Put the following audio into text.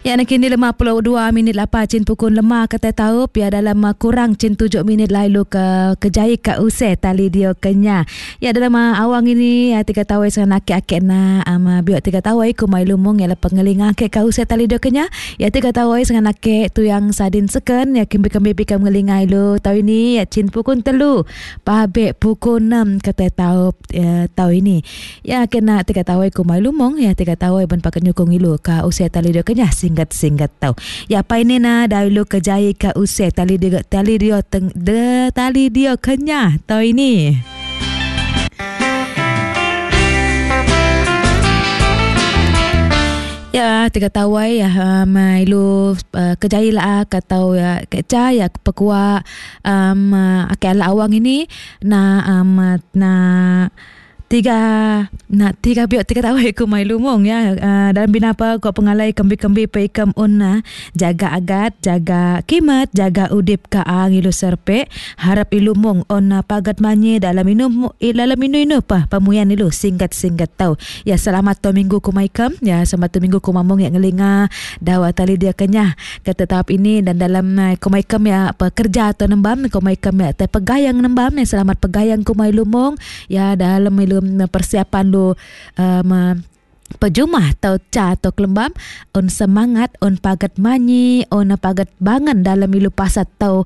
Ya nak kini 52 minit lapa cin pukul lema kata tahu pia dalam kurang cin 7 minit lalu ke kejai ke use tali dia kenya. Ya dalam awang ini ya tiga tahu sa nak ake na ama biok tiga tahu ku mai lumung ya pengelinga ke ka use tali dia kenya. Ya tiga tahu sa nak tu yang sadin seken ya kimbi kembi pikam ngelinga ilu tahu ini ya cin pukul telu pabe pukul 6 kata tahu ya, tahu ini. Ya kena tiga tahu ku mai lumung ya tiga tahu ben pakai nyukung ilu ka usia tali dia kenya singgat-singgat tau. Ya apa ini na dahulu kejai ka usia tali dia tali dia teng de tali dia kenya tau ini. Ya, tiga tawai ya um, ilu kejai lah katau ya keca ya pekua um, ake ala awang ini na um, na tiga na tiga biok tiga tahu iku mai lumung ya dalam bina apa ko pengalai kembi-kembi pe ikam unna jaga agat jaga kimat jaga udip ka ang ilu serpe harap ilumung onna pagat manye dalam inu dalam inu inu pa pamuyan ilu singkat-singkat tau ya. Selamat to minggu ku maikam ya, selamat to minggu ku mamung ya ngelinga dawa tali dia kenyah kata tahap ini dan dalam ku maikam ya pekerja atau nembam ku maikam ya te pegayang nembam ya. Selamat pegayang ku mai lumung ya dalam ilu persiapan lu pejumah atau ca atau kelembam on semangat on pagat manyi on pagat bangan dalam ilu pasat tau.